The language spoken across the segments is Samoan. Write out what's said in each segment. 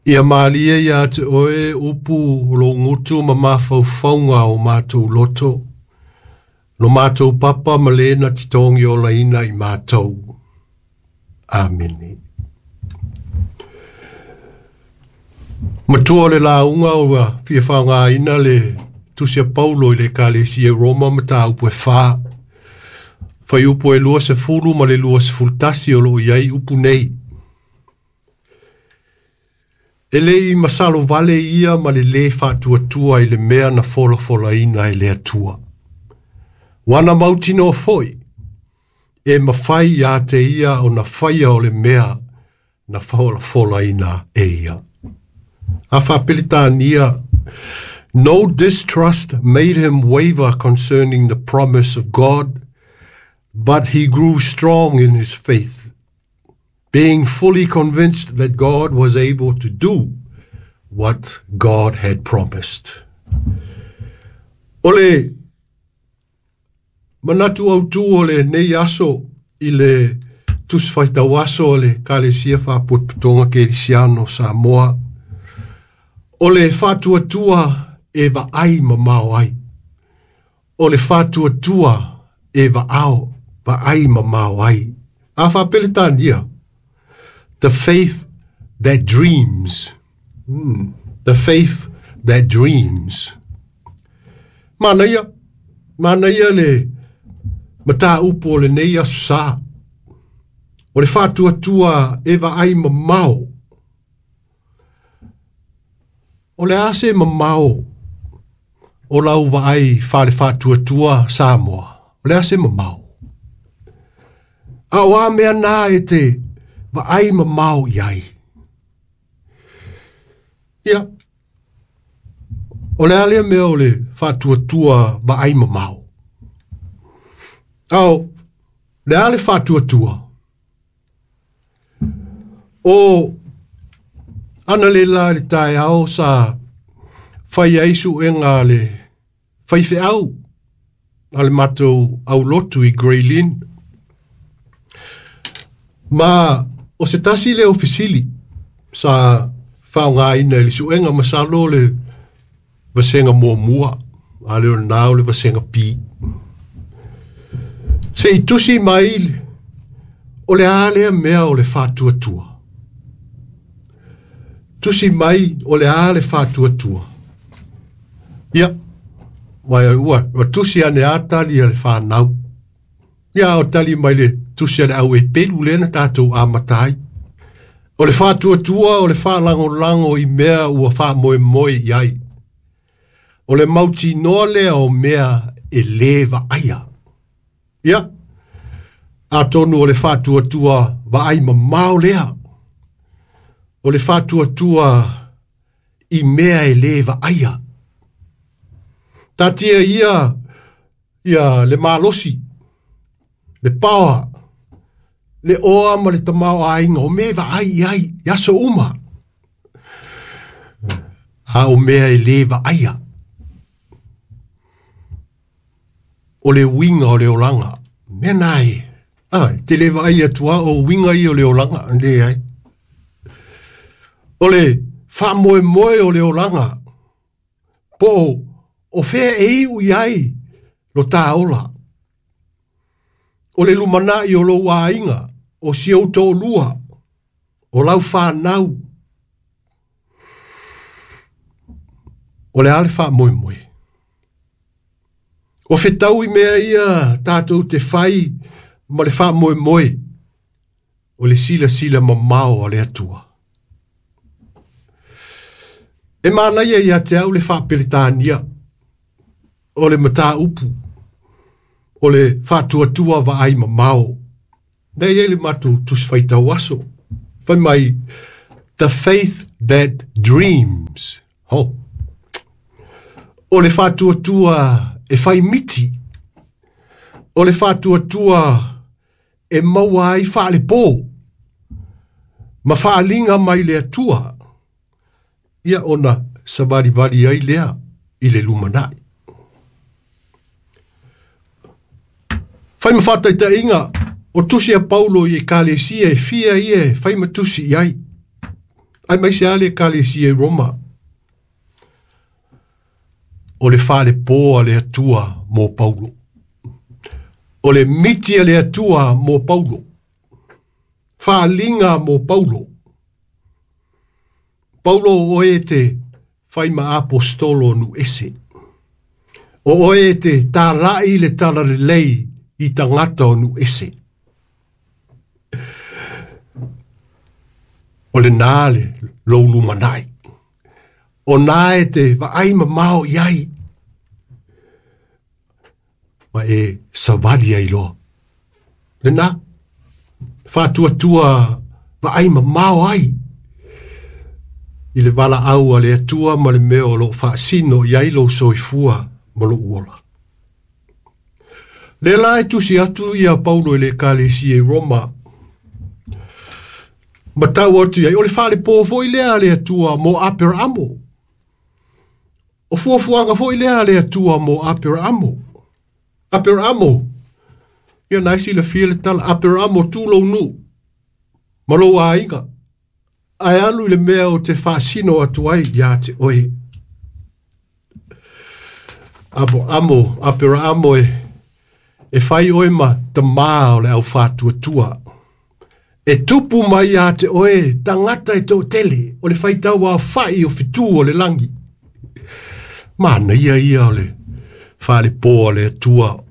Ia malie ia te oe upu o lou gutu ma mafaufauga o matou loto, lo matou papa ma le na te togiolaina i matou. Amene. Matua o le lauga ua fia faaaogaina le Tusi a Paulo i le Ekalesia i Roma mataupu e 4. Fuaiupu e 20 ma le 21 o lo o i ai upu nei. E le i masalo vale ia ma le lē faatuatua i le mea na folafolaina e le Atua. Ua na mautinoa foi, e mafai ia te ia ona faia o le mea na folafolaina e ia. A Faa-Peretania, no distrust made him waver concerning the promise of God, but he grew strong in his faith, being fully convinced that God was able to do what God had promised. O le manatu autū o lenei aso i le Tusi Faitau Aso o le Ekalesia Faapotopotoga Kerisiano o Samoa, o le faatuatua e vaai mamao ai. O le faatuatua e vaao, vaai mamao ai. A Faaperetania, the faith that dreams. The faith that dreams. Manaia, manaia le mataupu o lenei aso sa. O le faatuatua e vaai mamao. O le a se mamao o lau vaai faale-faatuatua Samoa. O le a se mamao. A o a mea na e te vaai mamao i ai. Ia, o le a lea mea o le faatuatua vaai mamao. A o le a le faatuatua? O analeila i le taeao sa fai ai suega a le faifeau a le matou aulotu i Grey Lynn. Ma o se tasi lea o fesili sa faaaogaina i le suega masalo o le vasega muamua, a le o lena o le vasega B. Se i tusi mai o le a lea mea o le faatuatua. Tusi mai o le a le faatuatua. Ia, ua, ua tusi ane a tali a le whanau. Ia, o tali mai le tusi a le au e pelu lea na tātou amata ai. O le faatuatua o le faalagolago i mea ua faamoemoe i ai. O le mautinoa lea o mea e lē vaaia. Ia, atonu o le faatuatua vaai mamao lea. O le faatuatua i mea e lē vaaia. Taatia ia ia le malosi, le paoa, le oa ma le tamaoaiga o mea e vaai i ai i aso uma. A o mea e lē vaaia. O le uiga o le olaga. Mea na e. A, te le vaai atu a o uiga ia o le olaga. Leai. O le faamoemoe o le olaga. Po o, o fea e iu i ai lo tā ola. O le lumanai o lou aiga, o si ou toalua, o lau whanau. O le a le faamoemoe. O fetaui mea ia tātou te fai ma le faamoemoe. O le silasila mamao a le Atua. E manaia ia te au le Faaperetania o le mataupu o le faatuatua vaai mamao. Lea e i ai le matou Tusi Faitau Aso. Fai mai, the faith that dreams. Ho. O le faatuatua e fai miti. O le faatuatua e maua ai faalepō ma faaaliga mai le Atua. Ia ona savalivali ai lea i le lumanai. Fai ma faataitaiga, o tusi a Paulo i Ekalesia e fia ia e fai ma tusi i ai. Aemaise lava le Ekalesia i Roma. O le falepo a le Atua mo Paulo. O le miti a le Atua mo Paulo. Faaliga mo Paulo. Paulo o oe e te fai ma aposetolo o nuu ese. O oe e te talai le talalelei i tagata o nuu ese. O lena le lou lumanai. O na e te vaai mamao i ai. Ma e savali ai loa. Lena, faatuatua vaai mamao ai i le valaau a le Atua ma le mea o lo o faasino i ai lou soifua ma lou ola. Lea la e tusi atu ia Paulo i le Ekalesia i Roma, ma tau atu i ai, o le falepō foi lea a le Atua mo Aperaamo. O fuafuaga foi lea a le Atua mo Aperaamo. Aperaamo, ia na e silafia le tala, Aperaamo tu lou nuu, ma lou aiga, ae alu i le mea ou te faasino atu ai ia te oe. Amo, amo, Aperaamo e, e fai oe ma tamā o le au whātuatua. E tupu mai ia te oe, tangata e toatele, o le faitau aofai o fetū o le langi. Manaia ia o le falepō a le Atua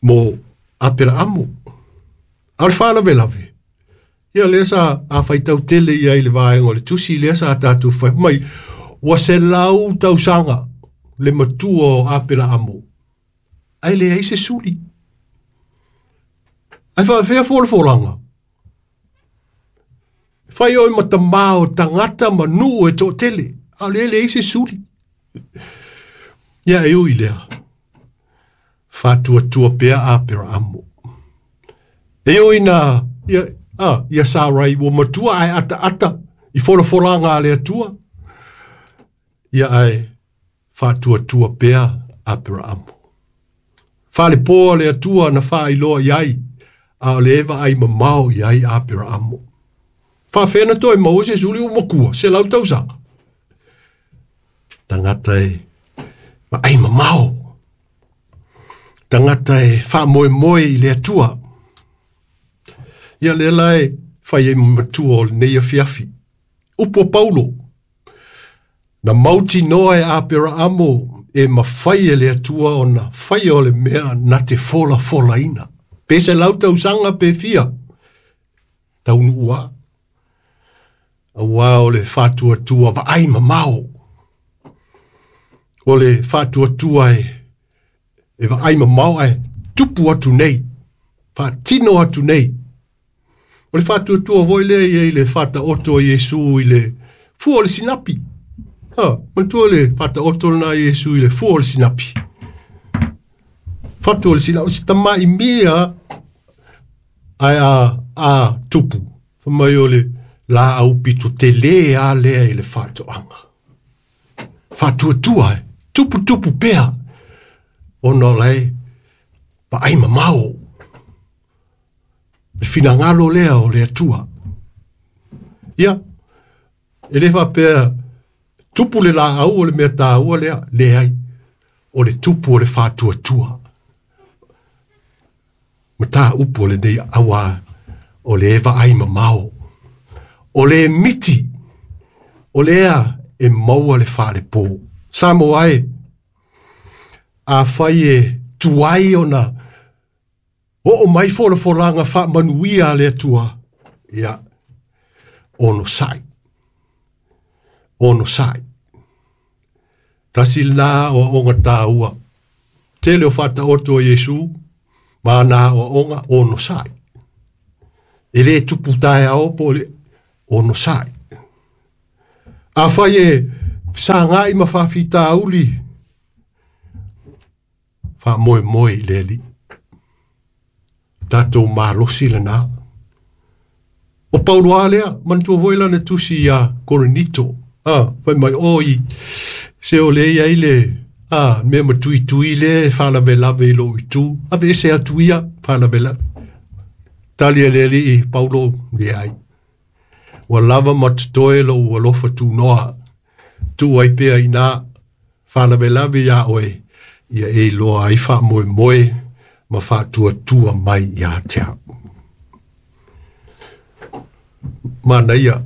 mo Aperaamo. A o le faalavelave, ia lea sa a faitau tele ia i le vaega o le tusi, lea sa tatou fai mai, ua 100 tausaga le matua o Aperaamo, ae leai se suli. Ae faafefea folafolaga? Fai oe ma tamā o tagata ma nuu e toatele, a o lea e leai se suli. Ia e ui lea, faatuatua pea Aperaamo. E ui na, ia, a, ia Sarai ua matua ae ataata i folafolaga a le Atua, ia ae faatuatua pea Aperaamo. Falepo a le Atua na faailoa i ai, a o le vaai mamao i ai Aperaamo. Faafefea na toe maua se suli ua matua, 100 tausaga. Tagata e vaai mamao. Tagata e faamoemoe i le Atua. Ia lea la e fai ai ma matua o lenei afiafi. Upu o Paulo, na mautinoa e Aperaamo e mafai e le Atua ona faia o le mea na te folafolaina. Pe 100 tausaga pe fia, taunuu lava. Aua o le faatuatua vaai mamao. O le faatuatua e vaai mamao ae tupu atu nei, faatino atu nei. O le faatuatua foi lea i ai le faataoto a Iesu i le fua o le sinapi. Ha, manatua le faataoto lena a Iesu i le fua o le sinapi. Fatu o le sinapi, o se tama'i mia ae a tupu. Fai mai o le laau pito tele a lea i le faatoaga. Faatuatua e, tupu tupu pea, ona o lae vaai mamao. Le finagalo lea o le Atua. Ia, e le faapea tupu le laau o le mea taua lea, leai, o le tupu o le faatuatua. Mataupu o lenei auā, o le vaai mamao. O le miti, o lea e maua le falepō. Samoa e, afai e tuai ona oo mai folafolaga faamanuia a le Atua, ia, onosai. Onosai. Tasi lena aoaoga taua. Tele o faataoto a Iesu, ma ana aoaoga onosai. E le tupu taeao po o le onosai. Afai e fesagai ma faafitauli, faamoemoe i le Alii. Tatou malosi lena. O Paulo lava lea, manatua foi lana tusi ia Korinito. Ah, fai mai, oi, se o le i ai le, ah, mea matuitui lea e faalavelave i lou itu. Aveese atu ia, faalavelave. Tali a le Alii, Paulo, leai. Ua lava ma totoe lou alofa tunoa, tuu ai pea iina faalavelave iā oe, ia e iloa ai faamoemoe ma faatuatua mai iā te au. Manaia,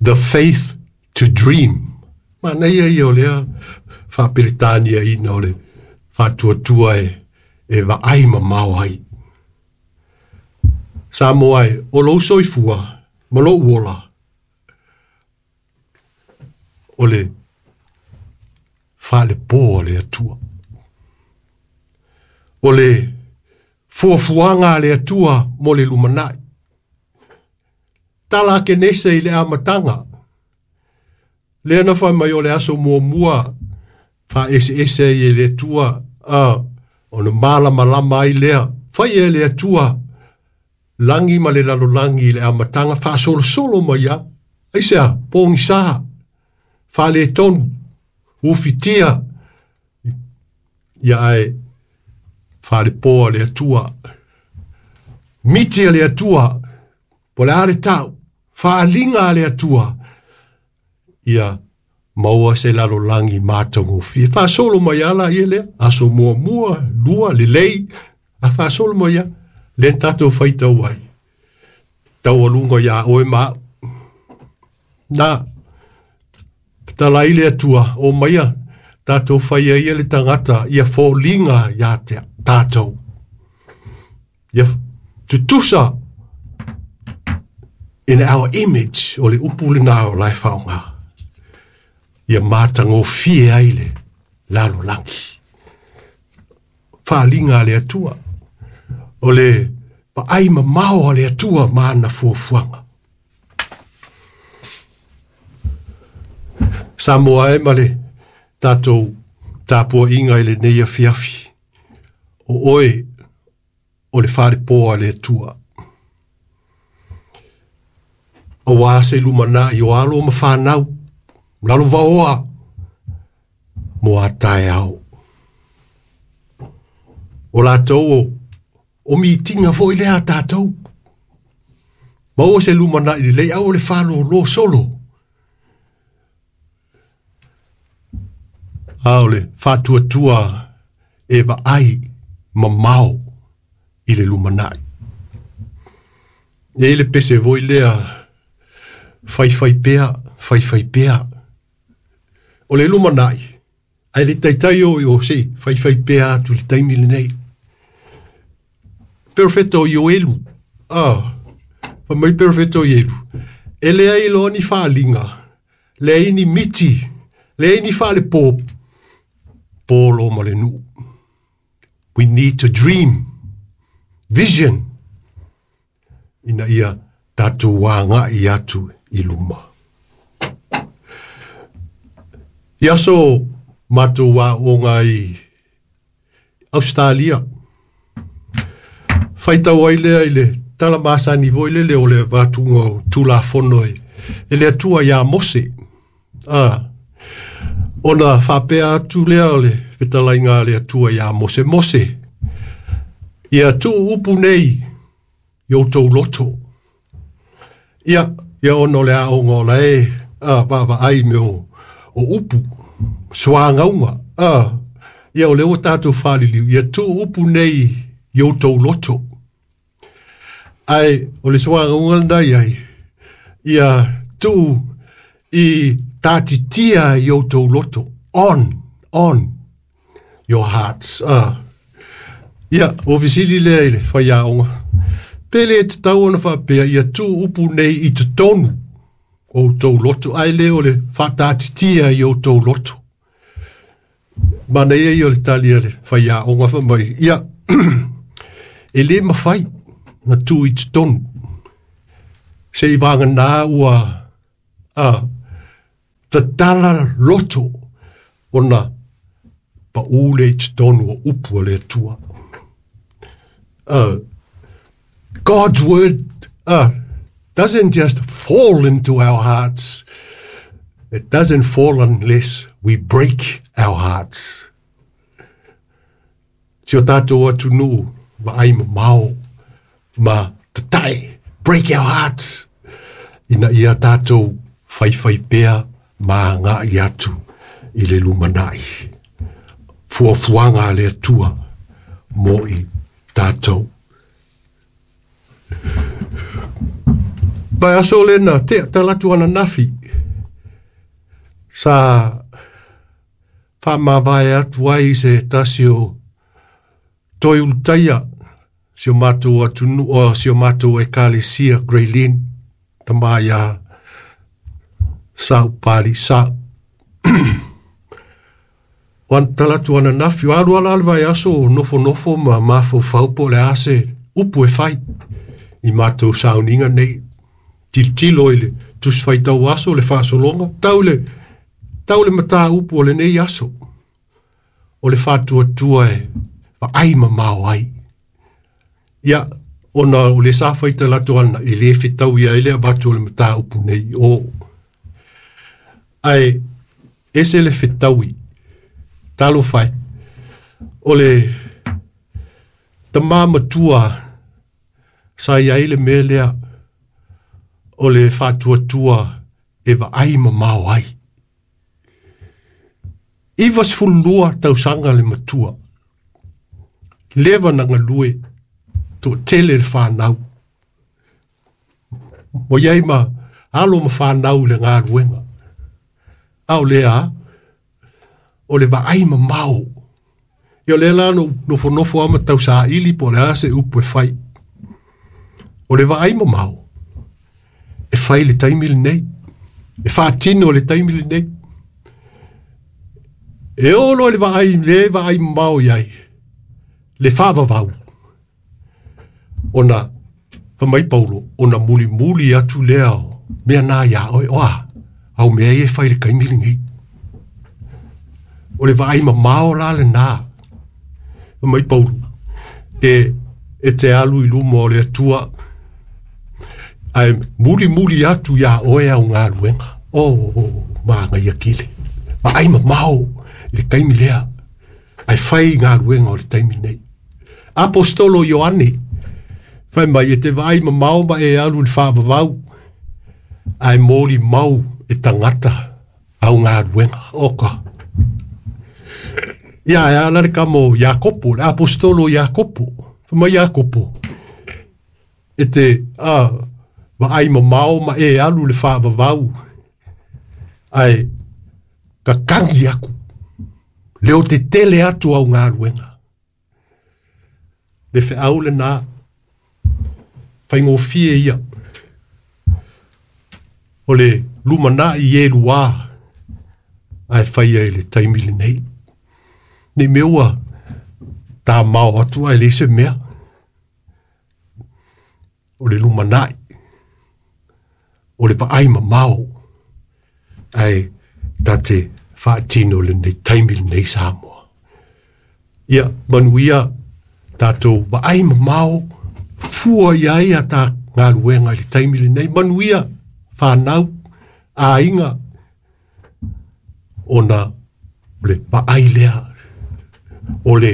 The Faith to Dream. Manaia ia o lea faapeletaniaina o le faatuatua e, e vaai mamao ai. Samoa e, o lou soifua ma lou ola, o le faalepo a le Atua. O le fuafuaga a le Atua mo le lumanai. Tala a Kenese i le amataga. Lea na fai mai o le aso muamua faaeseese ai e le Atua, a, ona malamalama ai lea. Faia e le Atua lagi ma le lalolagi i le amataga faasolosolo mai lava. Aisea? Pogisa, faaletonu, ufitia, ia ae faalepoa le Atua. Miti a le Atua, po o le a le tau, faaaliga a le Atua, ia maua se lalolagi matagofie. Faasolo mai lava laia lea, aso muamua, lua, lelei, a faasolo mai lava, lea na tatou faitau ai, taualuga iā oe ma au. Na, fetalai le Atua, omaia tatou faia ia le tagata ia foliga iā te tatou. Ia tutusa in our image, o le upu lena o la e faaaoga. Ia matagofie ai le lalolagi. Faaaliga a le Atua. O le vaai mamao a le Atua ma ana fuafuaga. Samoa e ma le tatou tapuaiga i lenei afiafi, o oe o le falepo a le Atua. Aua se lumanai o alo ma fanau, lalovaoa mo a taeao. O latou o, o mitiga foi lea a tatou. Maua se lumanai lelei, aua le faalōlō solo. A o le faatuatua e vaai mamao i le lumanai. E i ai le pese foi lea, faifai pea, faifai pea. O le lumanai, ae le taitai o i o se i faifai pea atu i le taimi lenei. Perofeta o Ioelu, ah, fai mai perofeta o Ioelu, e leai loa ni faaaliga, leai ni miti, leai ni faalepo, polo ma le nuu. We need to dream, vision, ina ia tatou agai atu i luma. I aso matou aoga i Ausetalia, faitau ai lea i le tala masani foi lele o le avatuga o Tulafono e le Atua iā Mose. A, ona faapea atu lea o le fetalaiga a le Atua iā Mose, Mose, ia tuu upu nei i outou loto. Ia, ia ona o le aoga o la e a, vaavaai i mea o, o upu, suagauga, a, ia o lea ua tatou faaliliu, ia tuu upu nei i outou loto. Ae o le suagauga lena i ai, ia tuu i tātitia i outou loto, on, on your hearts. Ia, ua fesili lea i le faiaoga, pe le tatau ona faapea ia tuu upu nei i totonu o outou loto, ae le o le faatātitia i outou loto. Manaia ia o le tali a le faiaoga fai mai, ia, e le mafai na tuu i totonu, se i vagana ua a, tatala loto ona paū lea i totonu o upu a le Atua. God's word doesn't just fall into our hearts. It doesn't fall unless we break our hearts. Si o tātou atunuu, vaai mamao ma tatae Break our hearts. Ina ia tātou whaiwhai pea ma agai atu i le lumanai. Fuafuaga a le Atua mo i tātou. Vaiaso lea na tea talaatu ananafi sa faamavae atu ai se tasi o toe ulutaia si o matou atunuu o si o matou ekalesia Greylin tama ia Saupali Sa. Wan talatu ananafi o alu ala le vaiaso o nofonofo ma mafaufau po o le a se upu e fai i matou sauniga nei. Tilotilo i le tusi faitau aso le faasologa tau le tau le mataupu o lenei aso o le faatuatua e vaai mamao ai. Ia, ona o le sa faitala atu ana e lē fetaui ai le avatu o le mataupu nei i o. Ae ese le fetaui, talofa e, o le tamā matua sa i ai le mea lea o le faatuatua e vaai mamao ai. 92 tausaga le matua, leva na galue, toatele le fanau. Ua i ai ma alo ma fanau i le galuega. A o lea, o le vaai mamao. Ia o lea la na ou nofonofo lava ma tausaili po o le a se upu e fai. O le vaai mamao, e fai i le taimi lenei. E faatino i le taimi lenei. E oo loa i le vaai, le vaai mamao i ai, le faavavau, ona fai mai Paulo, ona mulimuli atu lea o mea na iā oe, o a? Au mea ia e fai i le taimi lenei. O le vaai mamao la lena. Fai mai Paulo, e, e te alu i luma o le Atua, ae mulimuli atu iā oe au galuega. Oh, oh, manaia tele. Vaai mamao i le taimi lea, ae fai galuega o le taimi nei. Apostolo Ioane, fai mai e te vaai mamao ma e alu i le faavavau, ae molimau e tagata au galuega. Oka. Ia, e ala le kama o Iakopo, le apostolo Iakopo. Fai mai Iakopo, e te a, vaai mamao ma e alu i le faavavau, ae kakagi aku, leo tetele atu au galuega. Le feau lena, faigofie ia, o le lumanai i e luā, ae faia i le taimi lenei. Nei mea ua tamao atu ae leai se mea. O le lumanai, o le vaai mamao, ae ta te faatino lenei taimi lenei Samoa. Ia, manuia tatou vaai mamao, fua i ai a ta galuega i le taimi lenei. Manuia fanau, aiga, ona o le vaai lea, o le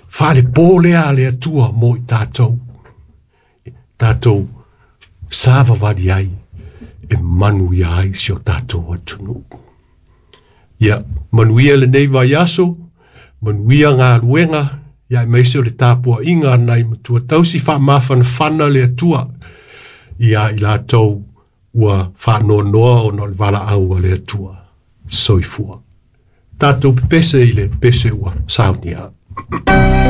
falepo lea a le Atua mo i tatou, tatou savavali ai e manuia ai si o tatou atunuu. Ia, manuia lenei vaiaso, manuia galuega, ia aemaise o le tapuaiga a nai matua tausi faamafanafana le Atua ia i latou ua faanoanoa ona o le valaau a le Atua. Soifua. Tatou pepese i le pese ua saunia.